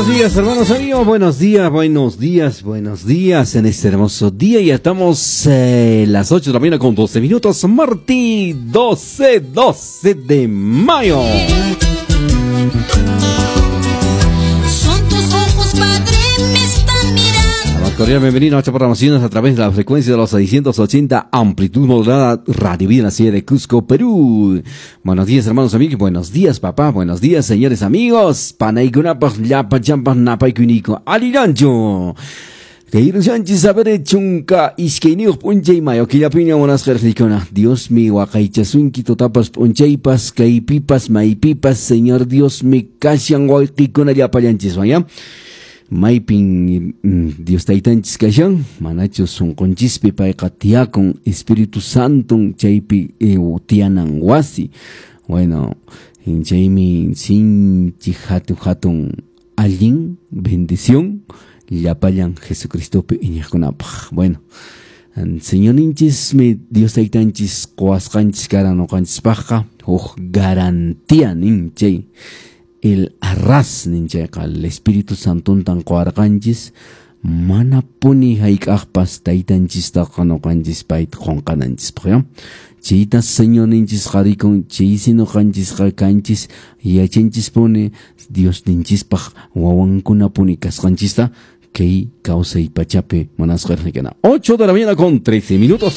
Buenos días, hermanos amigos. Buenos días, buenos días, buenos días en este hermoso día. Ya estamos las 8 de la mañana con 12 minutos. Martí 12, 12 de mayo. Son tus ojos, Padre, me están mirando. La más cordial bienvenida a nuestra programación a través de la frecuencia de los 680 amplitud modulada Radio Vida en la ciudad de Cusco, Perú. Buenos días, hermanos amigos. Buenos días, papá. Buenos días, señores amigos. Panaykunapaq llapa champa napaykuniko. Alirancho. Kay saber chunka iskayniyuq p'unchay mayo killapiña munasqa riqsikuna. Diosmi waqaychasunki tutapas p'unchaypas kaypipas maypipas Señor Diosmi kashan wawqikuna llapallanchiswan ya. Maypin Dios taytanchis kashan manachu sunqunchispi payqa tiyakun Espíritu Santo chaypi tiyanan wasi. Bueno, chaymi sinchi hatun hatun allin bendición llapallan Jesucristopi iñiqkunapaq. Bueno, Señorninchismi Dios taytanchis quwasqanchis karan ñuqanchispaqqa huk garantía nin chay el arras nin chayqa el Espíritu Santontan quwarqanchis mana puni hayk'aqpas taytanchistaqa ñuqanchis payta qunqananchispaq ya. Chayta Señorninchis qarikun chaysi ñuqanchisqa kanchis yachanchispuni Diosninchispaq wawankunapuni kasqanchista kay kawsay pachapi munasqa riqsikuna. 8 de la mañana con 13 minutos.